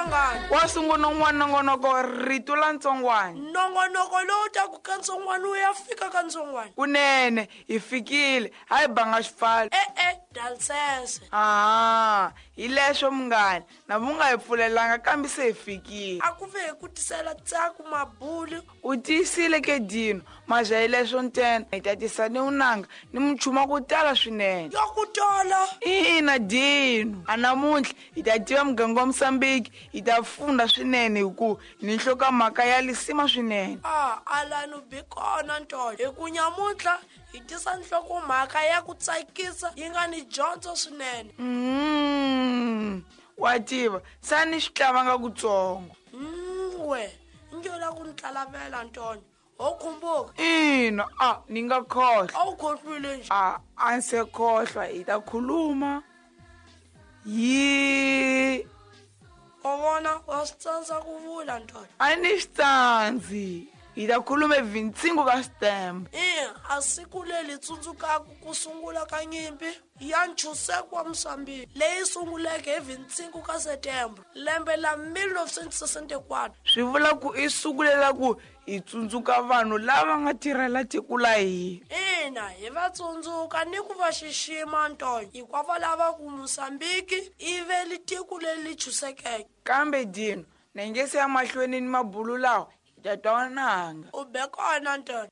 Ntsongwana. Wa sungula un'wana nongonoko rito la ntsongwana. Nongonoko lowu taku ka ntsongwana wu ya fika ka ntsongwana. Kunene hi fikile, hayi banga xipfalo. E-e, dalsese. Aha, hi leswo munghana, na vu nga hi pfulelanga kambe se hi fikile. A ku ve hi ku tisela tsaku mabulu. U tiyisile ke Dino, mazha hi leswo ntsena, hi ta tisa ni unanga ni muchuma ku tala swinene. Yo ku tola. Ina Dino, a namuntlha hi ta tiva muganga wa Mosambiki, hi ta funda swinene hi ku ni nhlokomhaka ya lisima swinene. A alani bi kona ntolo, hi ku nyamuntlha hi tisa nhlokomhaka ya ku tsakisa yi nga ni dyondzo swinene. Wa tiva, sa ni swi tlavanga kutsongo. We, nge la ku ni tlalavela ntonyo. Ho khumbuka? Ina, a ni nga khohlwa. A wu khohlwile nje? A, a ni se khohlwa, hi ta khuluma. Yi. Wa vona, wa swi tsandza ku vula ntonyo. A ni swi tsandzi. Hi ta khuluma evincingo ka switembe. Ina, a siku leri tsundzukaka ku sungula ka nyimpi ya ntshunxeko wa Mozambique leyi sunguleke hi 25 ka Setembro lembe la 1964. Swi vula ku i siku leri ku hi tsundzuka vanhu lava nga tirhela tiko la hina. Ina, hi va tsundzuka ni ku va xixima ntonyo, hikwavo lava ku Mozambique i ve li tiko leri ntshunxekeke. Kambe Dino, na nge se ya mahlweni ni mabulu lawa, hi ta twa nanga. U be kona ntonyo.